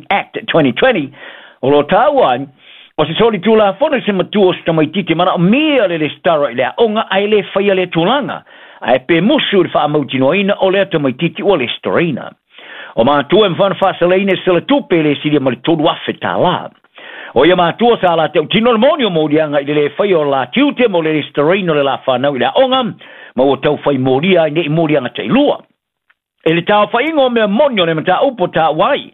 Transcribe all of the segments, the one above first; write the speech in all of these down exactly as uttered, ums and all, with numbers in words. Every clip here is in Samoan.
Act twenty twenty, o lo taua ai, o se solitulafono i se matua o se tamaitiiti e manaomia le resitala i le aoga ae le faia lea tulaga, ae pe musu i le faamautinoaina o lea tamaitiiti ua resitalaina. O matua e mafai ona faasalaina i se selatupe e le silia ma le tolu afe tālā. O ia matua sa la tautino le moni o moliaga i le le faia o le la tiute mo le resitalaina o le la whanau i le aoga, ma ua taufai molia ai nei moliaga tailua. E le taofaiga o mea moni o le mataupu o taua ai,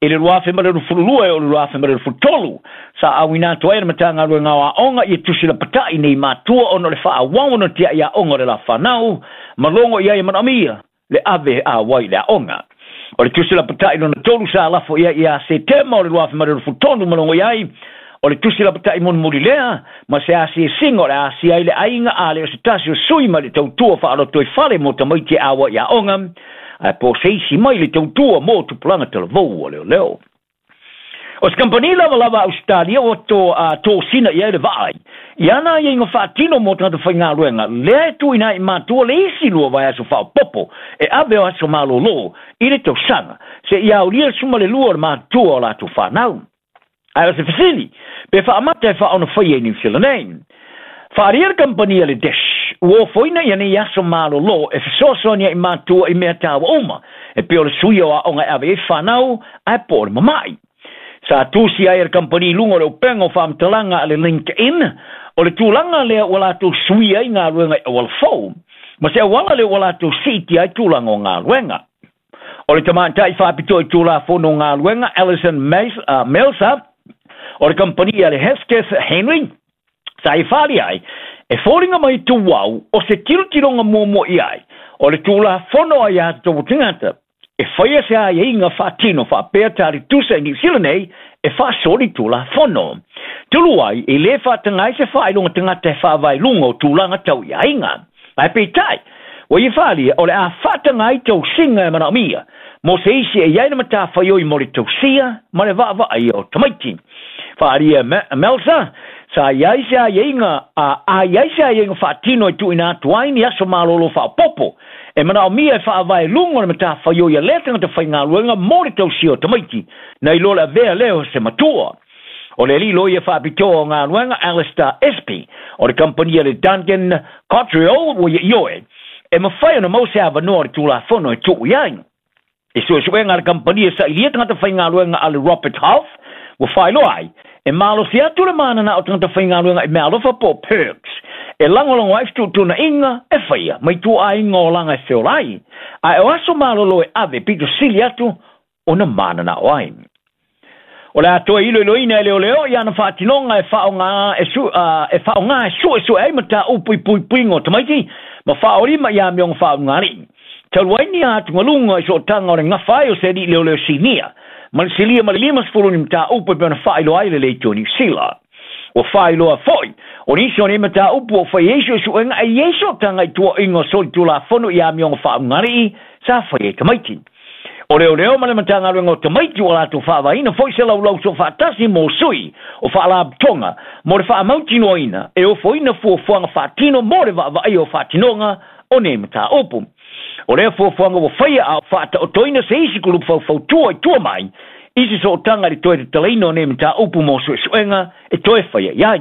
i le lua afe ma le luasefulu lua e o le lua afe ma le luasefulu tolu, sa auina atu ai le Matagaluega o Aoga ia tusi lapata'i nei matua ona o le faaauau ona tia'i aoga o le la fanau, ma logo i ai e manaomia le ave auai i le aoga. O le tusi lapata'i lona tolu sa lafo i ai ia Setema o le lua afe ma le luasefulu tolu ma logo i ai, o le tusi lapata'i mulimuli lea, ma se asiasiga o le asia ai le aiga a le o se tasi o sui ma le tautua faalotoifale mo tamaiti e auai i aoga, ae po o se isi mai le tautua mo tupulaga talavou o leoleo. O se kamupani lavalava a Ausetalia ua to, uh, tosina i ai le vaai i ana aiaiga faatino mo tagata faigaluega lea e tuuina ai i matua le isi lua vaiaso faaopoopo e ave o aso malōlō i le tausaga seia aulia le sefulumalelua o le matutua o latou fanau. Ae o se fesili, pe faamata e faaono faia i Niu Sila nei. Faaalia le kamupani a le Dish, ua ofoina ia nei aso malōlō e fesoasoani ai matua i mea taua uma, e pei o le suia o aoga e ave ai fanau, ae po o le mama'i. Sa tusi ai e le kamupani i luga o le upega o faamatalaga a le LinkedIn, o le tulaga lea ua latou suia ai galuega i auala fou, ma se auala lea ua latou siitia ai tulaga o galuega. O le tamaitai faapitoa i tulafono o galuega Alison Melsa, o le kamupani a le Hesketh Henry, sa i faaalia ai, e foliga mai tuau o se tilotiloga muamua i ai, o le tulafono aiatatau a tagata, e faia se aiaiga faatino faapea talitusa i Niu Sila nei e faasolitulafono. Talu ai, e lē faataga ai se faailoga tagata e faavae i luga o tulaga tau i aiga. Ae peitai, ua ia faaalia o le a faataga ai tausiga e manaomia, mo se isi e i ai le matafaioi mo le tausia ma le vaavaaia o tamaiti. Faaalia e Melsa, sa i ai se aiaiga a i ai se aiaiga faatino e tuuina atu ai ni aso malōlō faaopoopo, e manaomia e faavae i luga o le matafaioi a lea tagata faigaluega mo le tausia o tamaiti, nai lo le avea lea o se matua. O le alii loia faapitoa o galuega Alistair Espy, o le kamupani a le Duncan Cotterill, ua ia ioe, e mafai ona maua se avanoa o le tulafono e tuu i ai. I suesuega a le kamupani e sailia tagata faigaluega a le Robert Half, ua faailoa ai, e malosi atu le mananao o tagata faigaluega i meaalofa po o perks, e lagolago ai fetuutuunaiga e faia mai ituaiga olaga e feola ai, ae o aso malōlō e ave pito sili atu ona mananao ai. O le a toe iloiloina e leoleo i ana faatinoga e faaaoga e su, uh, e faaaoga e suesue ai mataupu i puipuiga o tamaiti ma faaolima i amioga faauigalii. Talu ai ni atugaluga i sootaga o le gafa ai o se alii leoleo sinia, ma le silia ma le limasefulu ni mataupu e pei ona faailoa ai le Leitio Niu Sila. Ua faailoa foi, o nisi o nei mataupu ua fai ai suesuega e i ai sootaga i tuuaiga o solitulafono i amioga faauigalii sa faia i tamaiti. O leoleo ma le Matagaluega o Tamaiti ua latou faavaeina foi se laulau soofaatasi mo sui o faalapotopotoga mo le faamautinoaina e ofoina fuafuaga faatino mo le vaavaaia o faatinoga o nei mataupu. O lea fuafuaga ua faia a o faataotoina se isi kulupu faufautua i tua mai i se sootaga i le toe tatalaina o nei mataupu mo suesuega e toe faia i ai.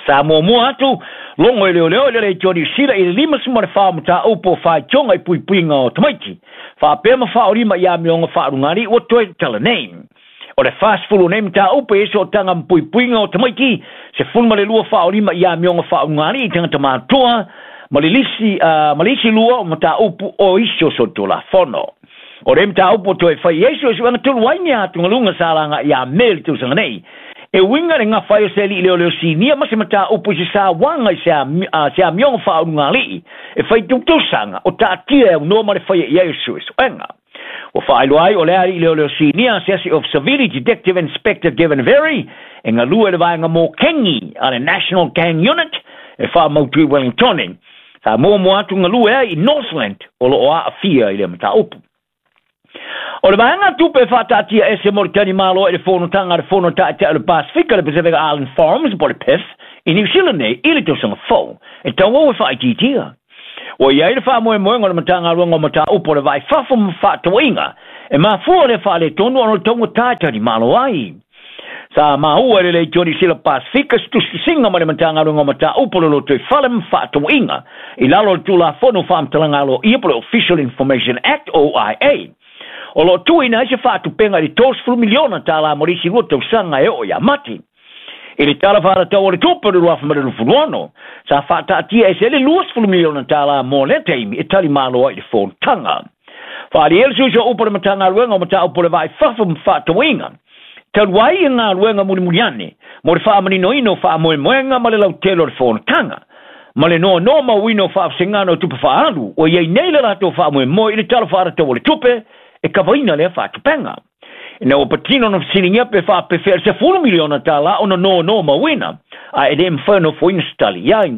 Sa muamua atu logo e leoleo i le Leitio Niu Sila i le limasefulu ma le fa o mataupu o faitioga i puipuiga o tamaiti, faapea ma faaolima i amioga faaalugalii ua toe tatala nei. O le fasefulu o nei mataupu e i ai sootaga ma puipuiga o tamaiti, sefulumalelua faaolima i amioga faauigalii i tagata matutua, ma le lisi, uh, ma le isi lua o mataupu o isi o solitulafono. O le mataupu o toe fai ai suesuega talu ai ni atugaluga sa laga ia Me le tausaga nei, e uiga i le gafa ai o se alii leoleo sinia ma se mataupu i se sauaga i se, se amioga faaulugalii e fai tautausaga o taatia e aunoa ma le faia i ai o suesuega. Ua faailoa ai o le alii leoleo sinia asiasi Ofisa Vili Detective Inspector Gavin Verry e galue i le vaega mokengi a le National Gang Unit e faamautu i Wellingtone. Sa muamua atu galue ai i Northland o loo aafia i le mataupu. O le vaega tupe faataatiaese mo le talimalo i le fonotaga a le Fono Ta'ita'i o le Pasefika, le Pacific Island Forums po o le P I F, i Niu Sila nei i le tausaga fou, e tauau e faaitiitia. Ua i ai le faamoemoega o le Matagaluega o Mataupu o le Vaai Fafo ma Faatauaiga e mafua le faaletonu ona o le taugata e talimalo ai. Sa maua e le Leitio Niu Sila Pasifika se tusitusiga ma le Matagaluega o Mataupu o le Lotoifale ma Faatauaiga i lalo o le Tulafono Faamatalaga Aloaia po o le Official Information Act O I A. O loo tuuina ai se faatupega i le tolusefulu miliona tālā mo le isi lua tausaga e oo ia Mati. I le tala faatatau o le tupe o le lua afe ma le luasefulu ono, sa faataatia ese ai le luasefulu miliona tālā mo lea taimi e talimalo ai i le fonotaga. Faaalia le suiso upu o le Matagaluega o Mataupu o le Vaai Fafo ma Faatauaiga, talu ai e galuega mulimuli ane mo le faamaninoina o faamoemoega ma le lautele o le fonotaga ma le noanoa mauina o faavasegana o tupe faaalu ua iai nei le latou faamoemoe i le tala faatatau o le tupe e kavaina lea faatupega. Ina ua patino na fesiligia pe faapefea le sefulu miliona tālā ona noanoa mauina, ae e le mafai ona ofoina se tali i ai.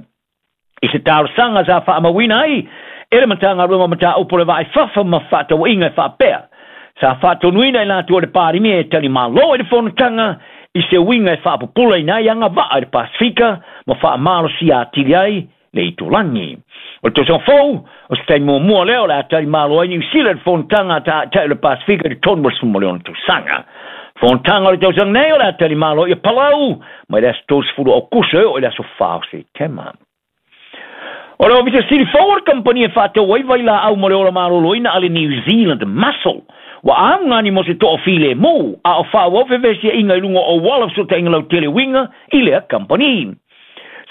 I se talosaga sa faamauina ai e le Matagaluega o Mataupu o le Vaai Fafo ma Faatauaiga e faapea, sa faatonuina i latou o le Palemia e talimalo i le fonotaga i se uiga e faapupulaina ai agavaa i le Pasifika ma faamalosia atili ai le itulagi. O le tausaga fou, o se taimi muamua lea o le a talimalo ai Niu Sila i le fonotaga a taʻataʻi o le Pasifika i le tolu ma le sefulu ma le ono tausaga. Fonotaga o le tausaga nei o le a talimalo ia Palau mai le aso tolusefulu o Aokuso e oo i le aso fa o Setema. O le Ofisa Sili fou o le kamupani e faatau ai vailaau mo le ola maloloina a le New Zealand Muscle ua augani mo se toafilemu a o faaauau fevesiaiga i luga o auala fesootaiga lautele uiga i lea kamupani.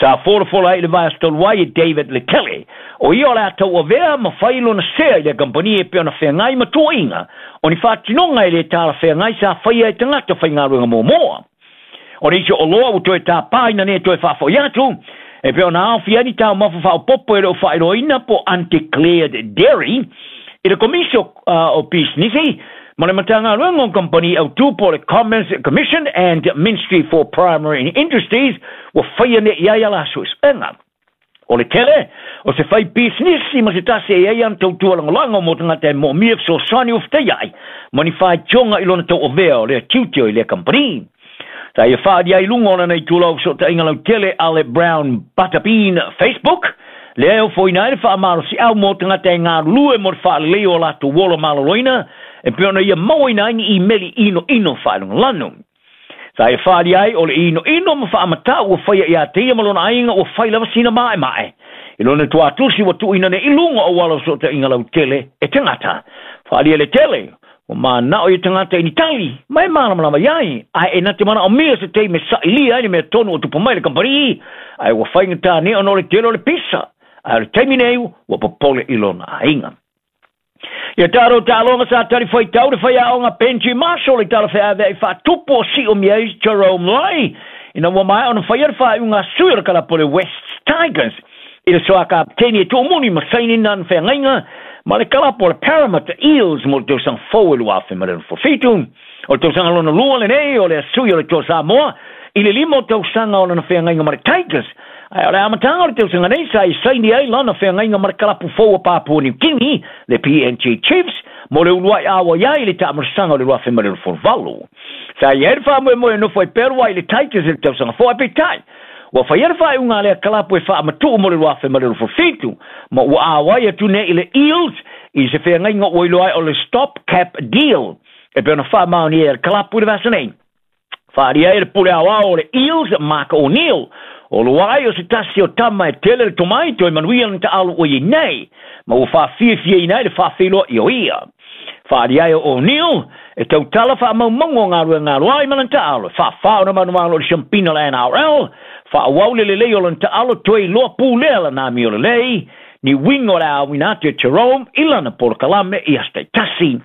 Sa folafola ai i le vaiaso talu ai e David Letele, o ia o le a tauavea ma fai lona sea i lea kamupani e pei ona feagai ma tuuaiga o ni faatinoga e lē talafeagai sa faia e tagata faigaluega muamua. O le isi oloa ua toe tapāina nei toe faafo'i atu e pei ona aofia ai ni taumafa faaopopo e le o faailoaina po undeclared dairy i le Komisi o, uh, o Pisinisi ma le Matagaluega o Kamupani Autū po o le Commerce Commission and Ministry for Primary Industries ua faia nei i ai ala suesuega. O le tele o se fai pisinisi ma se tasi e i ai ana tautua lagolago mo tagata e moomia fesoasoani ua fetaia ai ma ni faitioga i lona tauavea o lea tiute o i lea kamupani. Sa ia faalia ai luga o lana itula o fesootaiga lautele a le Brown Butterbean Facebook, lea e ofoina ai le faamalosiau mo tagata e galulue mo le faalelei o latou ola maloloina e pei ona ia mauaina ai ni imeli inoino faalogalanu. Sa ia faalia ai o le inoino ma faamatau ua faia ia te ia ma lona aiga ua fai lava sina maemae. I lona tuatusi ua tuuina nei i luga o auala o fesootaiga lautele e tagata. Faalia le tele, ua manao ia tagata i ni tali, ma e malamalama iai, ae e na te manaomia se taimi e sailia ai le mea tonu o tupu mai le kamupani, ae ua faigata nei ona o le tele o le pisa, ae o le taimi nei ua popole i lona aiga. Ia tatou taaloga sa talifuaitau le faiaoga Benji Marshall i tala feaveai faatupu o siomia ai Jerome Lai ina ua maea ona faia le faaiuga a sui o le kalapu o le West Tigers i le soa kapeteni e tuumuni ma sainina ana feagaiga ma le kalapu o le Parramatta Eels mo le tausaga fou e lua afe ma le fitu. O le tausaga lona lua lenei o le sui o le Toa Samoa i le lima o tausaga o lana feagaiga ma le Tigers. Ae o le amataga o le tausaga nei sa i saini ai lana feagaiga ma le kalapu fou o Papua New Guinea, le P N G Chiefs, mo le uluai aua iai i le taamalosaga o le lua afe ma le luasefulu valu. Sa i ai le faamoemoe e nofo ai pea luai i le Tigers i le tausaga fou ae peitai ua faia le faaiuga a lea kalapu e faamatuu mo le lua afe ma le luasefulu fitu, ma ua auai atu nei i le Eels i se feagaiga ua iloa ai o le stop cap deal e pei ona faamaonia e le kalapu i le vaiaso nei. Faalia ai le pule aoao o le Eels, Mark O'Neill, o luai o se tasi o tama e tele le tomai toe manuia lana taalu ua iai nei, ma ua faafiafiaina ai le faafeiloai o ia. Faalia ai o O'Neill e tautala faamaumauga o galuega aloai ma lana taalo, e faafā ona manumalo o le siampina o le N R L, faaauau le lelei o lana taalo toe iloa pulea lana amio lelei, ni uiga o le aoina atu e Jerome i lana polokalame i aso taitasi.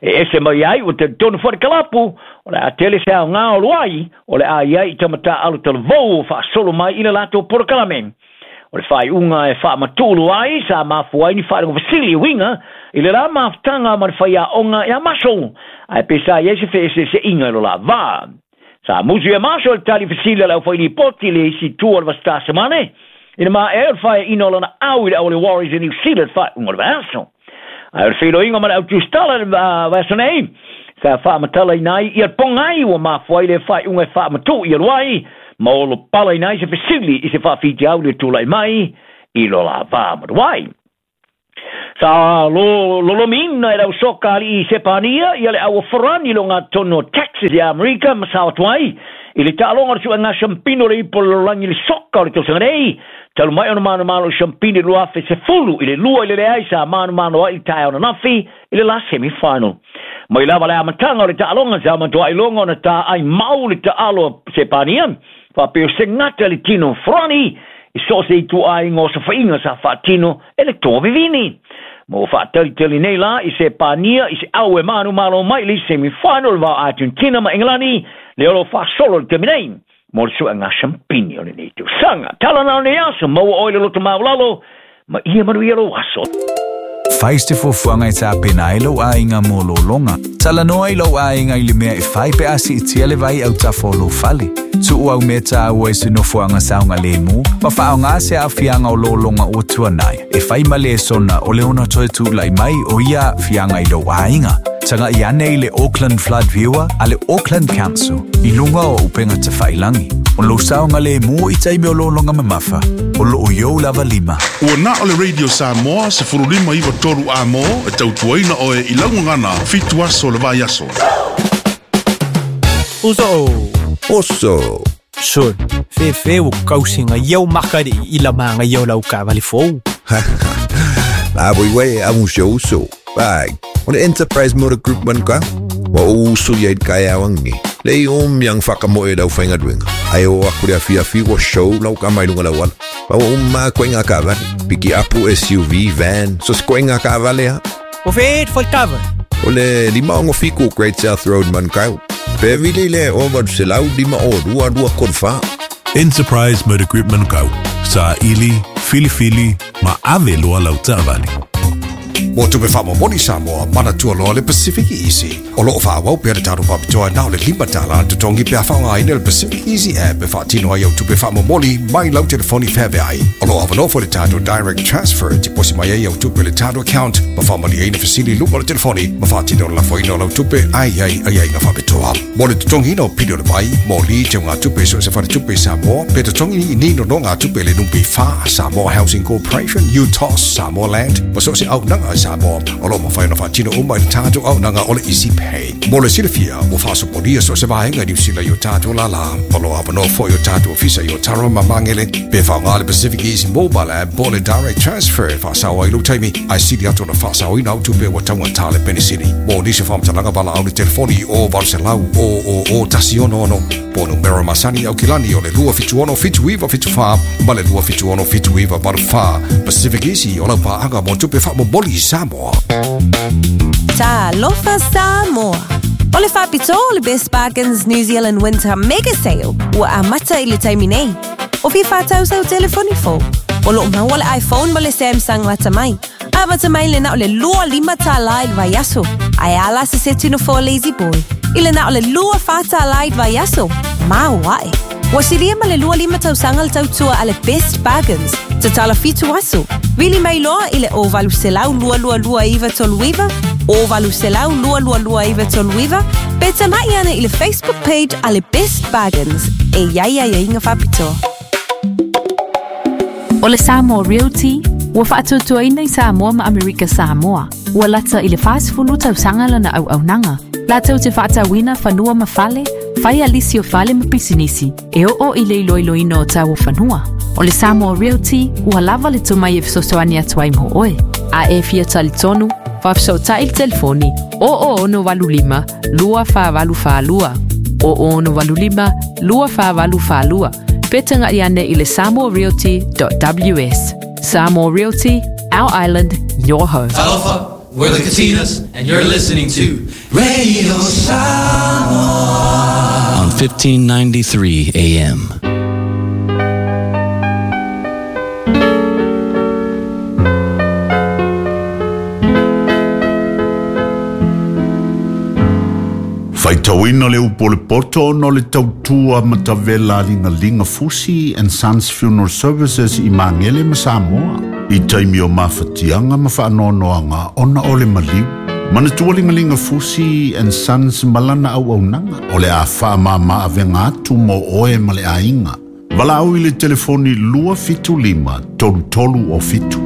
E ese mai ai ua talitonu foi le kalapu, o le a tele se aogā o luai, o le a iai i tamatāalo talavou o faasolo mai i le latou polokalame. O le faaiuga e faamatuulu ai sa mafua ai ni faalogo fesili uiga i le la mafutaga ma le faiaoga ia Marshall, ae pe sa i ai se feeseeseiga i lo la vā. Sa musu ia Marshall le tali fesili a le aufailipoti i le isi tua o le vasitā semane, ina maea o le faeaina o lana au i le au o le Warriors i New Zealand faaiuga o le vaiaso. Ae o le feiloaiga ma le autusitala le vaiaso nei, sa faamatalaina ai ia le pogai ua mafua ai le faaiuga e faamatuu ia luai, ma o lo palaina ai se fesili i se faafitiau le tulai mai i lo la vā maluai. Sa lo lolomiina e lau soka ali i Sepania ia le aua forani lo ngā tono Texas i Amerika ma sa atuai i le taaloga o le suega shampino le ipo lololangi le soka o le tausaga nei. Talu mai ona manumalo i shampini lua afe sefulu i le lua i le leai sa manumalo ai i tae ona nafi i le la semifinal. Mai lava le amataga o le taaloga sa matuai iloga ona ta ai mau le taalo Sepania faapea o se gata le tino forani i so se itu aiga o safaiga sa faatino e le toa vivini. Mo faatalitali nei la i Sepania i se au e manumalo mai le semifinal va Argentina ma Engelani le olo faasolo le taimi nei mo le suega shampini o lenei tausaga. Tala na o nei aso maua oe le loto maulalo ma ia manuia lou aso. Fai se fuafuaga e tapena ai lou aiga mo lologa. Talanoa i lou aiga i le mea e fai pe a siitia le vai autafa o lou fale. Tuu au mea tāua i se nofoaga saogalemu ma faaaogā se aafiaga o lologa ua tuanai. E fai ma lesona o le ona toe tulai mai o ia aafiaga i lou aiga. Taga'i ane i le Auckland Flood Viewer a le Auckland Council i luga o upega tafailagi. O lou saogalemu i taimi o lologa mamafa. O loo iou lava lima. Ua na o le Radio Samoa sefulu lima iwa tolu a mo e tautuaina oe i laugagana fitu aso le vai aso. Uso. Oso. Sun. Fefe o kausinga iau makari i la manga iau lau kavali fou. La boi we a un show so. Bai. O le Enterprise Motor Group man ka. Wa o usu ia i kai awangi. Le o miang whakamoe e lau whainga duenga. Ai o aku le awhia whiwa show lau ka mai lunga lau ala. Wa o ma koe ngā kavale. Piki apu S U V, van, so se koe ngā kavale ha. O whet whaltava. O le lima ongo fiku Great South Road man kau. Pe vile le o valu se lau lima o rua rua korwha. Enterprise Motor Group Manukau. Sa ili, fili fili, ma ave loa lau taavale. Mo tupe whaamomoni Samoa, manatua loa le Pacific Easy. O loo whaawau pea le tātou whapitoa nao le lima tala tutongi pea whaongaina le Pacific Easy app e whaatino ai au tupe whaamomoli mai lau telefoni whaveai. O loo awanofo le tātou direct transfer te posi mai ai au tupe le tātou account ma whaamali ai na fasili luma le telefoni ma whaatino la foina lau tupe ai ai ai ai ngā whapitoa. Mo le tutongi no pili o le vai, mo li te ngā tupe so se whare tupe Samoa, pe tutongi ni no no ngā tupe le numpi wha Samoa Housing Corporation, U T O S, Samoa Land, ma so se au nanga Samoa. O lo mawhai na whaatino uma i tātou au nanga o le Easy Pay. Mo le silafia, o whaasoponia so se vaenga ni usila i o tātou lala. O lo awanoa fo i o tātou ofisa i o taro mamangele. Pe whaonga le Pacific Easy Mobile App po le Direct Transfer whaasawa i lutaimi. Ai sili atu na whaasawa ina au tupe wa taunga tāle penisini. Mo nisi whamtalanga wala au le telefoni o valuselau o o o tasi ono ono. Po numero masani au kilani o le lua fitu ono fitu iwa fitu wha ma le lua fitu ono fitu iwa valu wha. Pacific Easy o lau pāanga mo tupe whaamomoli Samoa. Talofa Samoa. O le whapito o le Best Bargains New Zealand Winter Mega Sale ua amata i le taimi nei. O fia whātau sau telefoni fō. O loo maua le iPhone ma le Samsung lata mai. A mata mai le na o le lua lima tālai le vaiaso. Ai ala se se tino fō lazy boy. I le na o le lua whātālai le vaiaso. Mau ae. Ua silia ma le lua lima tausaga le tautua a le Best Bargains. Tatala fitu aso. Vili mai loa i le o valu selau lua lua lua iwa tolu iwa, o valu selau lua lua lua iwa tolu iwa, pe tamai ana i le Facebook page a le Best Bargains. E iai ai inga whapitoa. O le Samoa Realty, ua whaatuatuaina i Samoa ma Amerika Samoa. Ua lata i le whaasifulu tausaga lana au aunaga. Latou te faatauina fanua ma fale, fai alisi o fale ma pisinisi, e oo i le iloiloina o tau o fanua. O le Samoa Realty, ua lava le tomai e fesoasoani atu ai mo oe. A e fia talitonu, faafesootai le telefoni, o o ono valu lima, lua wha valu wha lua. O o ono valu lima, lua wha valu wha lua. Pe taga'i ane i le samoa realty dot w s. Samoa Realty, our island, your home. Talofa, we're the Katinas, and you're listening to Radio Samoa on fifteen ninety-three A M. Faitauina le upo le poto no le tautua matavela linga linga fusi and Sons Funeral Services i Mangele ma Samoa. I taimi o mawhatianga ma whaanoanoanga ona o le maliu. Manatua linga linga fusi and Sons malana au aunanga o le a wha ma avenga atu mo oe ma le ainga. Wala au i le telefoni lua fitu lima tolu tolu o fitu.